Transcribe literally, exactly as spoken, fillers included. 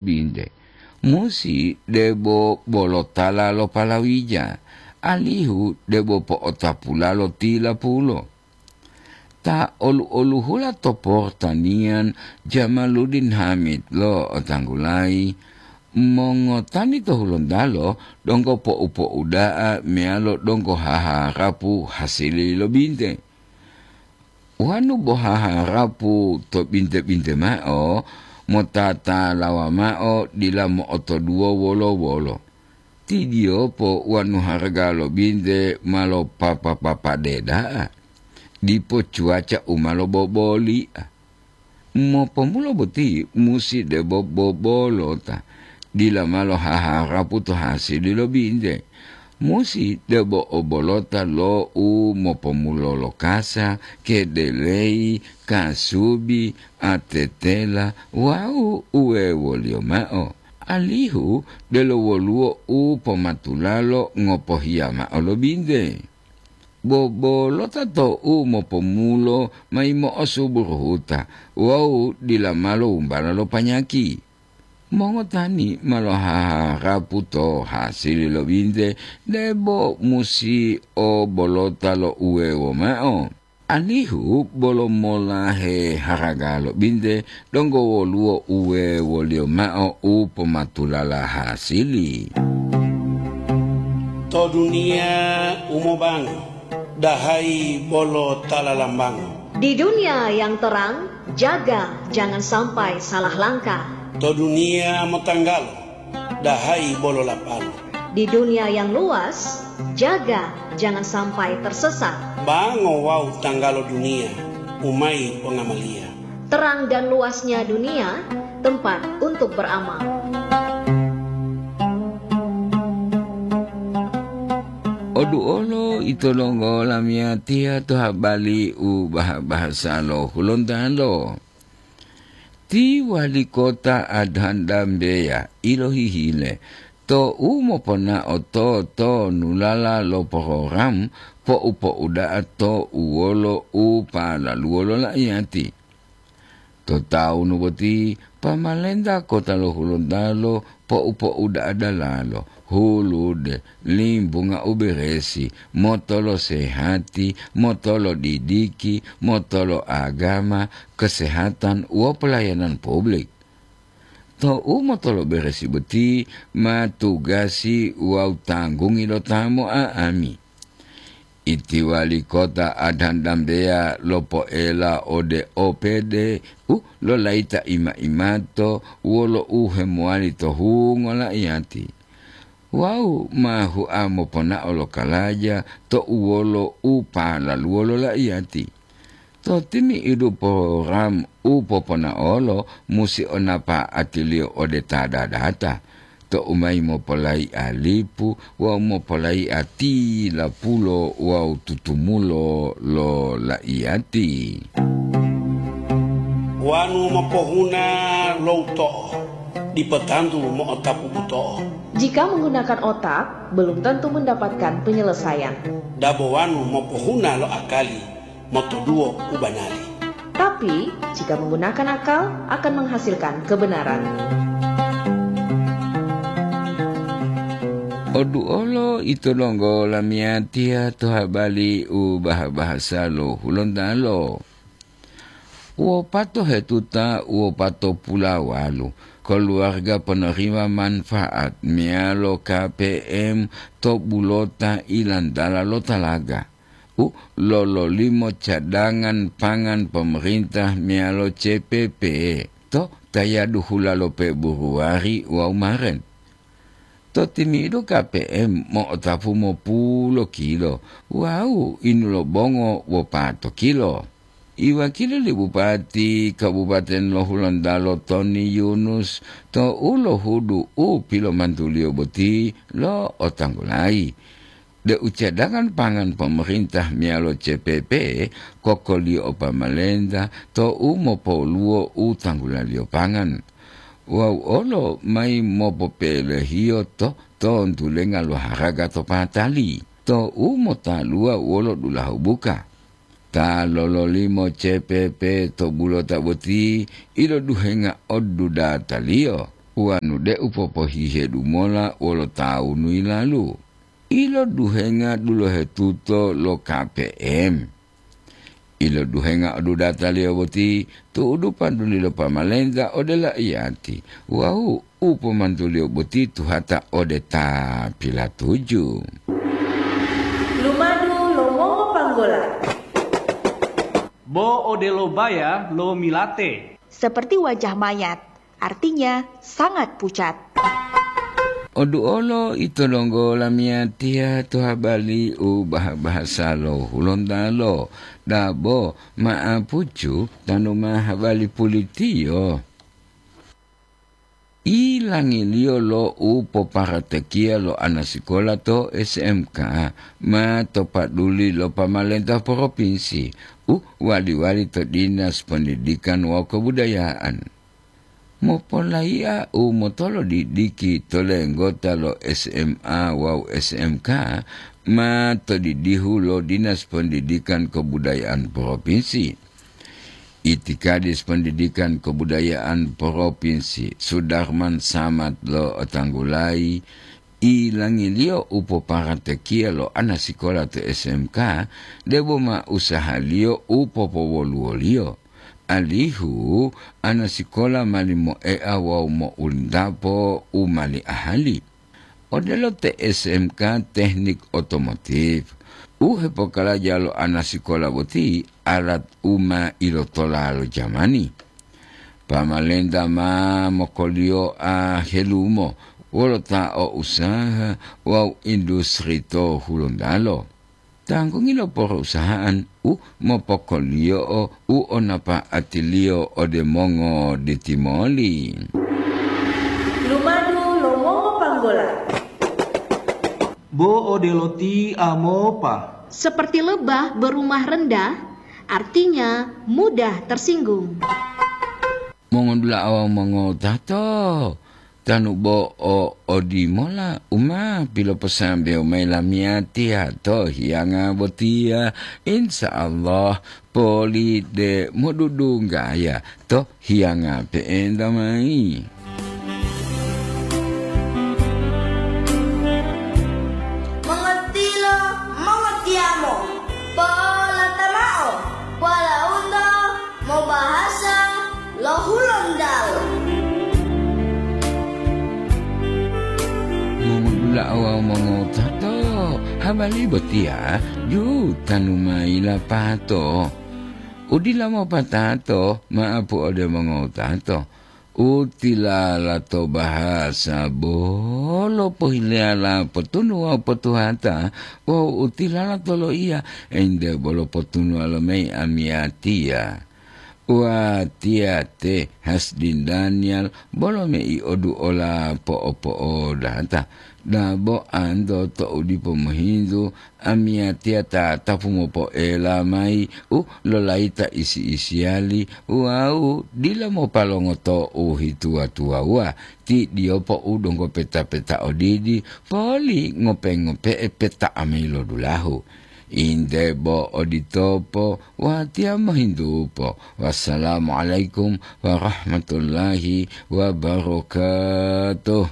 binte, musi debo bolo tala lo palawija, alihu debo po'otapula lo tilapulo. Ta olu-oluhula to portanian Jamaluddin Hamid lo'otanggulayi, mongotani to Hulontalo donggo po'upo'uda'a meyalo donggo haharapu hasili lo binte. Wonu bo haharapu to binte-binte mao, motatalawa mao dila mo'otoduwo wolo-wolo. Tidiyopo wonu haraga lo binte ma lopapa-papade da'a, dipo cuaca u ma loboboli'a. Mopomulo boti musi debo bobolota, dila ma lohaharapu to hasili lo binte. Musi debo obolota lo u mopomulo lo kasa, kedeleyi, kasubi, atetela wawu uwewoliyo mao, alihu delo woluwo u pomatulalo ngopohiya mao lo binte. Bobolota to u mopomulo mayi mo'osuburuhuta wawu dila ma lo wumbala lo panyaki. Mongotani ma lohaharapu to hasili lo binte debo musi o bolota lo uwewo mao, alihu bolo molahe haraga lo binte donggo woluwo uwewoliyo mao u pomatulala hasili. To duniya u mobango, dahayi bolo ta lalambango. Di dunia yang terang, jaga jangan sampai salah langkah. To duniya motanggalo, dahayi bolo lapalo. Di dunia yang luas, jaga jangan sampai tersesat. Bango wawu tanggalo duniya, u mayi pongamaliya. Terang dan luasnya dunia, tempat untuk beramal. Oduolo ito donggo lamiyatiya to habali u baha-bahasa lo Hulontalo. Ti wali kota Adhan Dambeya ilohihile to u moponao to, to nulala lo porogram po'u-po'uda'a to uwolo u palaluwo lo la'iyati. To tawunu boti, pamalenta kota lo Hulontalo po'u-po'uda'a dalalo, hulude, limbunga u beresi, motolo sehati, motolo didiki, motolo agama, kesehatan, wo pelayanan publik. To u motolo beresi boti ma tugasi wawu tanggungi lo ta mo'a'ami. Iti wali kota Adhan Dambeya lopoela ode O P D u lolayita ima-imato wolo u hemowali to hungo la'iyati. Wawu ma hua moponao lo kalaja to uwolo u palaluwo lo la'iyati. To timi'idu program u poponaolo musi o napa'atiliyo ode ta dadata, to u mayi mopolayi'a lipu wawu mopolayi'a tilapulo wawu tutumulo lo la'iyati. Wanu mopohuna lo uto'o, dipo tantu mo'otapu buto'o. Jika menggunakan otak, belum tentu mendapatkan penyelesaian. Dabo wanu mopohuna lo akali, motoduwo u banari. Tapi, jika menggunakan akal, akan menghasilkan kebenaran. Oduolo ito donggo lamiyatiya to habali u baha-bahasa lo Hulontalo. Wopato hetuta wopatopulawalu koluwarga ponorima manfaat meyalo K P M to bulota ilantala lo talaga u lololimo cadangan pangan pomarintah meyalo C P P to tayadu hula lo Februwari wawu Maret. To timi'idu K P M mo'otapu mopulo kilo wawu inulobongo wopato kilo. Iwakili li Bupati Kabupaten lo Hulontalo Toni Yunus to u lohudu u pilomantuliyo boti lo'otanggulayi deu cadangan pangan pomarintah meyalo C P P kokoliyo o pamalenta to u mopoluwo u tanggulaliyo pangan wawu olo mayi mopopelehiyo to tontulenga lo haraga to patali to u motaluwa wolo dulahu buka. Ta lololimo C P P to bulota boti iloduhenga odudataliyo. Wanu de'u popohihedu mola wolo tawunu yilalu. Iloduhenga dulohetuto lo K P M. Iloduhenga odudataliyo boti tu'udu paduli lo pamalenta ode la'iyati wawu u pomantuliyo boti tuhata ode ta pilatuju. Lumadu lo mongopanggola. Bo odelo baya lo milate. Seperti wajah mayat, artinya sangat pucat. Oduolo ito donggo lamiyatiya to habali u baha-bahasa lo Hulontalo, dabo ma'apucu tanu ma habali pulitiyo. Ilangiliyo lo u poparatekiya lo anasikola to S M K ma to paduli lo pamalenta propinsi u wali-wali to Dinas Pendidikan wawu Kebudayaan. Mopolaiya u motolodidiki to lenggota lo S M A wawu S M K ma to didihu lo Dinas Pendidikan Kebudayaan Propinsi. Itikadis Pendidikan Kebudayaan Propinsi, Sudarman Samad lo'otanggulayi, ilangiliyo u poparatekiya lo anasikola to S M K, debo ma usahaliyo u popowoluwoliyo, alihu anasikola mali moea wawu mo'ulintapo u mali ahali. Odelo te S M K Teknik Otomotif, u hepokaraja lo anasikola boti alat u ma ilotola lo jamani. Pamalenta ma mokoliyoa helumo wolo ta o usaha wawu industri to Hulontalo. Tanggungi lo porusahaan u mopokoliyo'o u o napa'atiliyo ode mongo ditimoli. Lumadu lo mongopanggola. Bo odelo ti amopa. Seperti lebah berumah rendah, artinya mudah tersinggung. Mongodula'a wawu mongotato, tanu bo o odimola u ma piloposambewo mayi lamiyatiya to hiyanga botiya, insya Allah poli de modudunggaya to hiyanga pe'enta mayi. Mongotilo, mongotiyamo, polata mao, polaunto mobahasa lo Hulontalo. Mongodula'a wawu mongotato, habari botiya jutanu mayi lapato. Udila mopatato, ma'apu ode mongotato. U tilala to bahasa bolo pohileyala potunu wawu potuhata, wawu u tilala to loiya, ente bolo potunuwa lomayi amiyatiya. Watiya te Hasdin Daniel bolo mei oduola po'opo'odata, dabo anto to'u dipo mohintu, amiyatiya tatapu mopoela mayi u lolayita isi-isiyali wawu dila mopalongoto u hituwa-tuwawuwa, ti diyopo u donggo peta-peta odidi, poli ngope-ngope'e peta mayi lo dulahu. Inde bo oditopo, watiya mohintupo. Wassalamualaikum warahmatullahi wabarakatuh.